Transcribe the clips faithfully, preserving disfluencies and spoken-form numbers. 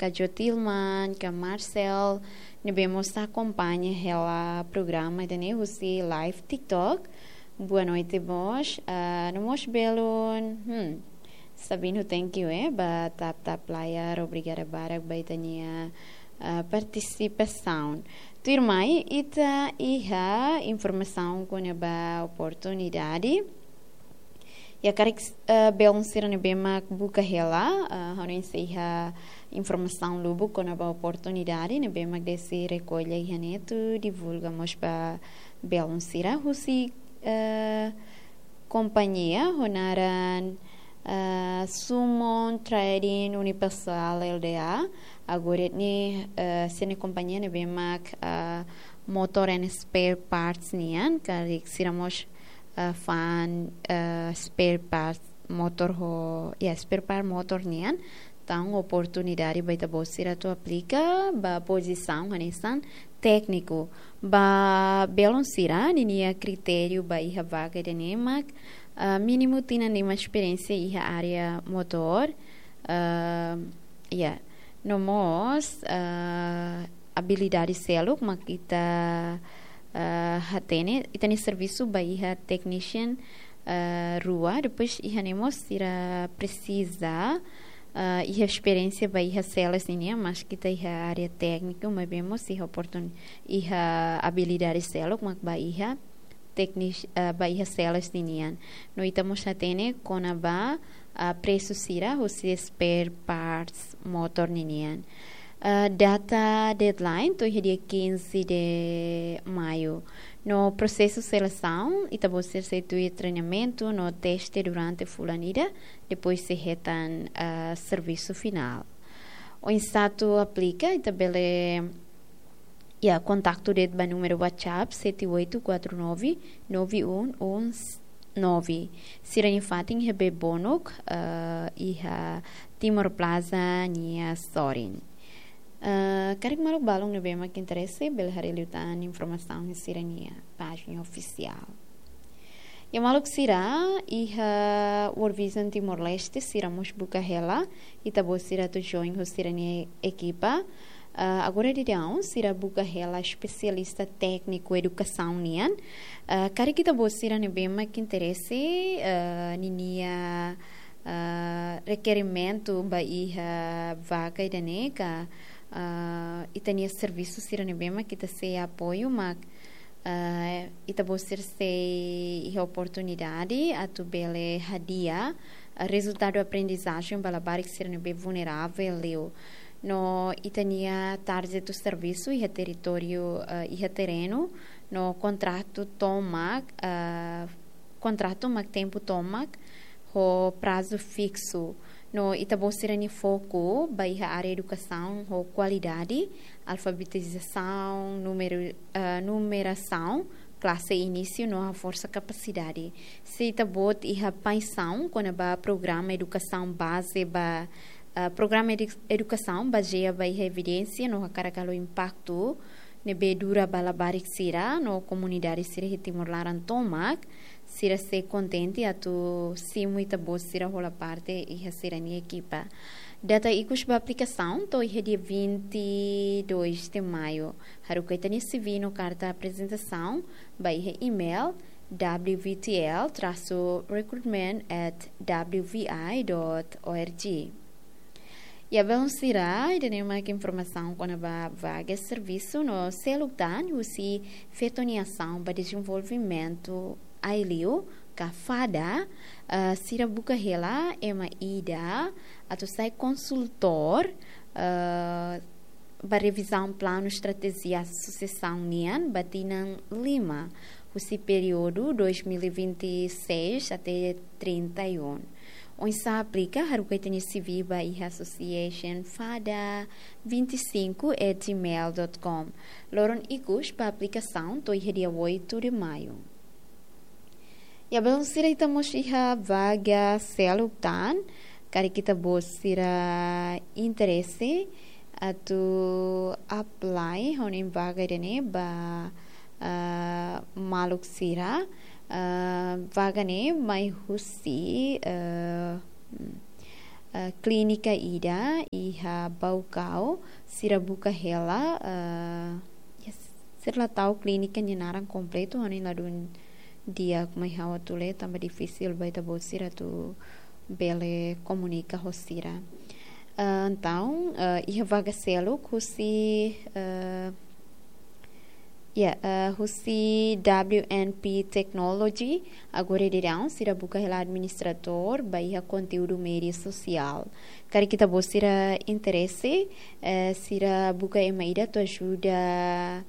ka Jotilman, ka Marcel, ne'ebé mós akompaña hela programa ida-ne'e husi live TikTok. Boa noite mós, ah, no mós belun, hmm, Sabino, thank you, eh, ba tap tap layar, obrigada barak ba ita-nia, ah, partisipasaun. Tuirmai, ita iha informasaun kona-ba oportunidade. Ya, karik, eh, belun sira ne'ebé mak buka hela, eh, ha'u hanoin sei iha informasaun lubuk kona-ba oportunidade ne'ebé mak Desi rekolla iha ne'e atu divulga mós ba belun sira husi, eh, kompañia ho naran, eh, Summon Trading Universal L D A. Agora ne'e, eh, sira-nia kompañia ne'ebé mak, eh, motor and spare parts nian, karik sira mós, eh, fa'an, eh, spare parts motor ho, ya, spare part motor nian. Entaun oportunidade ba ita-boot sira atu aplika ba pozisaun hanesan tékniku. Ba belun sira, ninia kritériu ba iha vaga ida-ne'e mak, ah, mínimu tinan lima esperiénsia iha área motor, ah, ya, no mós, ah, abilidade seluk mak ita, ah, hatene, ita-nia servisu ba iha technician, ah, rua, depois iha ne'e mós sira presiza, ah, iha esperiénsia ba iha sales ninian, maski ita iha área tékniku, maibé mós iha oportun-, iha abilidade seluk mak ba iha teknis-, ah, ba iha sales ninian. No ita mós hatene kona-ba, ah, presu sira husi spare parts motor ninian. Ah, data deadline to'o iha dia quinze de maio. No prosesu selesaun, ita-boot sira sei tuir treinamentu no teste durante fulan ida, depois sei hetan, ah, servisu finál. Oinsá atu aplika, ita bele, ya, kontaktu de'it ba númeru WhatsApp sete oito quatro nove nove um um nove. Sira-nia fatin iha Bebonuk, eh, iha Timor Plaza nia sorin. Eh, karik maluk balun ne'ebé mak interese, bele haree liután informasaun iha sira-nia pájina ofisiál. Ya maluk sira, iha World Vision Timor-Leste, sira mós buka hela ita-boot sira atu join ho sira-nia ekipa. Ah, agora daudaun, sira buka hela espesialista tékniku edukasaun nian. Ah, karik ita-boot sira ne'ebé mak interese, ah, ninia, ah, rekerimentu ba iha vaga ida-ne'e ka, ah, ita-nia servisu sira ne'ebé mak ita sei apoiu mak, ah, ita-boot sira sei iha oportunidade atu bele hadi'a, ah, rezultadu aprendizajen ba labarik sira ne'ebé vulneravel liu. No ita-nia target servisu iha territóriu, ah, iha terrenu, no kontratu tomak, ah, kontratu mak tempu tomak ho prazu fiksu. No ita-boot sira-nia foku ba iha área edukasaun ho kualidade, alfabetizasaun, númeru, eh, numerasaun, klase inísiu no haforsa kapasidade. Se ita-boot iha paixaun kona-ba programa edukasaun baze ba, eh, programa edu-, edukasaun bazeia ba iha evidénsia no hakarak halo impaktu ne'ebé dura ba labarik sira no komunidade sira iha Timor laran tomak, sira sei kontente atu simu ita-boot sira hola parte iha sira-nia ekipa. Data ikus ba aplikasaun to'o iha dia vinte e dois de maio. Haruka ita-nia C V no karta aprezentasaun ba iha email W V T L traço recruitment at W V I dot org. Ya belun sira, ida-ne'e mak informasaun kona-ba vaga servisu no seluk tan husi Feto nia Asaun ba Dezenvolvimentu Aileu ka FADA, eh, sira buka hela ema ida atu sai konsultór, eh, ba revizaun planu estratéjia susesaun nian ba tinan lima, husi períodu dois mil e vinte e seis até trinta e um. Oinsá aplika, haruka ita-nia C V ba iha association fada vinte e cinco at gmail dot com. Loron ikus ba aplikasaun to'o iha dia oito de maio. Ya belun sira, ita mós iha vaga seluk tan, karik ita-boot sira interese atu apply ho nia vaga ida-ne'e ba, ah, maluk sira, ah, vaga ne'e mai husi, ah, eh, klínika ida iha Baucau, sira buka hela, eh, ya, sira la tau klínika nia naran kompletu, ha'u-nia ladún di'ak mai ha'u atu lee, tanba difisil ba ita-boot sira atu bele komunika ho sira. Eh, entaun, eh, iha vaga seluk husi, eh, ya, eh, husi W N P Technology, agora daudaun sira buka hela administradór ba iha konteúdu média sosiál. Karik ita-boot sira interese, eh, sira buka ema ida atu ajuda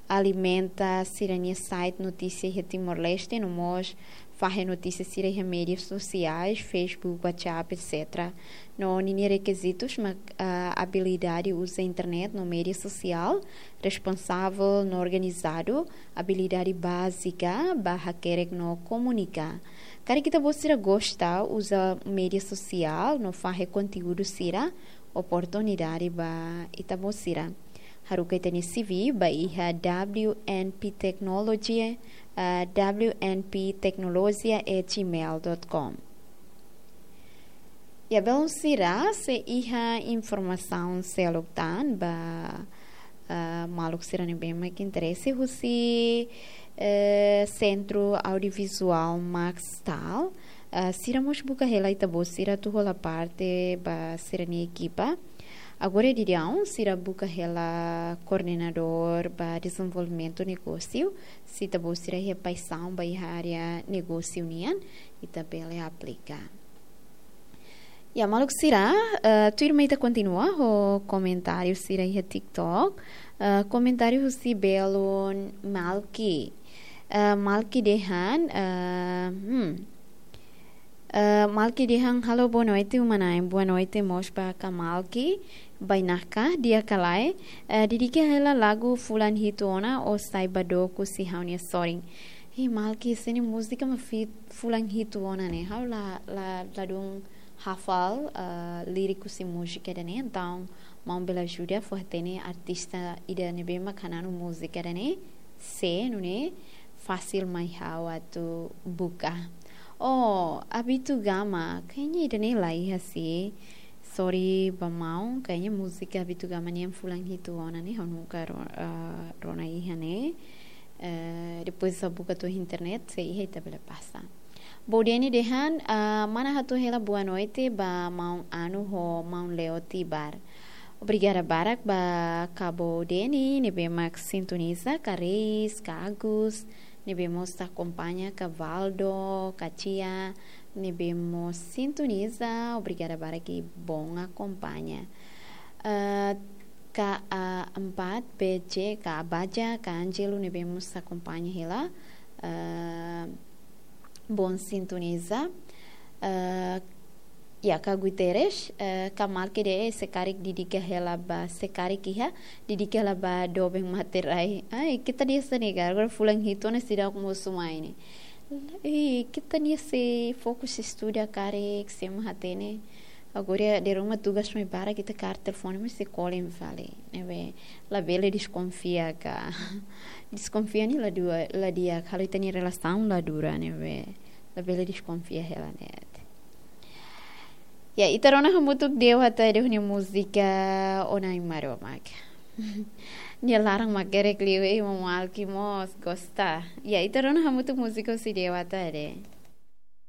alimenta sira-nia site notísia iha Timor-Leste, no mós fahe notísia sira iha média sosiais, Facebook, WhatsApp, et cetera. No ninia rekizitus mak, ah, abilidade uza internet no média sosiál, responsavel no organizadu, abilidade bázika ba hakerek no komunika. Karik ita-boot sira gosta uza média sosiál no fahe konteúdu sira, oportunidade ba ita-boot sira. Haruka ita-nia C V ba iha W N P Technology, ah, W N P tecnologia at gmail dot com. Ya, belun sira, sei iha informasaun seluk tan ba, ah, maluk sira ne'ebé mak interese husi, eh, Sentru Audiovizuál Maxtal. Ah, sira mós buka hela ita-boot sira atu hola parte ba sira-nia ekipa. Agora daudaun sira buka hela koordenadór ba dezenvolvimentu negósiu. Se ita-boot sira iha paixaun ba iha área negósiu nian, ita bele aplika. Ya, maluk sira, eh, tuirmai ita kontinua ho komentáriu sira iha TikTok. Eh, komentáriu husi belun Malki. Eh, Malki dehan, eh, hmm. Eh, Malki dehan, "Halo, boa noite, uma-na'in." Boa noite mós ba ka Malki. Bainaka, di'ak ka lae. Eh, dedika hela lagu Fulan Hitu Ona ou Sai Ba Dook husi ha'u-nia sorin. Ih, Malki, ese-nia múzika mak fit fulan hitu ona ne'e. Ha'u la, la, ladún hafal, ah, líriku husi múzika ida-ne'e, entaun maun bele ajuda fó-hatene artista ida ne'ebé mak hananu múzika ida-ne'e, se nune'e fasil mai ha'u atu buka. Oh, Abito Gama, kayaknya ida-ne'e la iha sih. Sorry ba maun, kayaknya múzika Abito Gama nian fulan hitu ona ne'e, ha'u nunka ro-, ah, rona iha ne'e. Eh, depois ha'u buka to'o internet, se iha ita bele pasa. Bo Deni dehan, ah, mana hato'o hela boa noite ba maun Anu ho maun Leo Tibar. Obrigada barak ba ka Bo Deni, ne'ebé mak sintoniza, ka Reis, ka Agus, ne'ebé mós akompaña, ka Valdo, ka Tia, ne'ebé mós sintoniza, obrigada barak i bon akompaña. Ah, ka A empat B J, ka Abaja, ka Angelo, ne'ebé mós akompaña hela, ah, bon sintoniza. Ah, ya, ka Guterres, eh, ka Malki de'it, se karik dedika hela ba, se karik iha, dedika hela ba doben materai. Ai, keta-nia sei negar, agora fulan hitu ona seidauk mosu mai ne'e. Ih, keta-nia sei fokus estuda karik, sei ema hatene. Agora, dala ruma tugas mai barak, ita kaer telefone, mas sei kolen fali. Ne'ebé, labele deskonfia ka. Deskonfia ne'e la dua, la di'ak, halo ita-nia relasaun la dura, ne'ebé. Labele deskonfia hela ne'e. Ya, ita rona hamutuk Dewa Tadeu nia múzika Ona Ai Maromak. Nia laran mak gerek liu, eh, maun Malki mós gosta. Ya, ita rona hamutuk múzika husi Dewa Tadeu.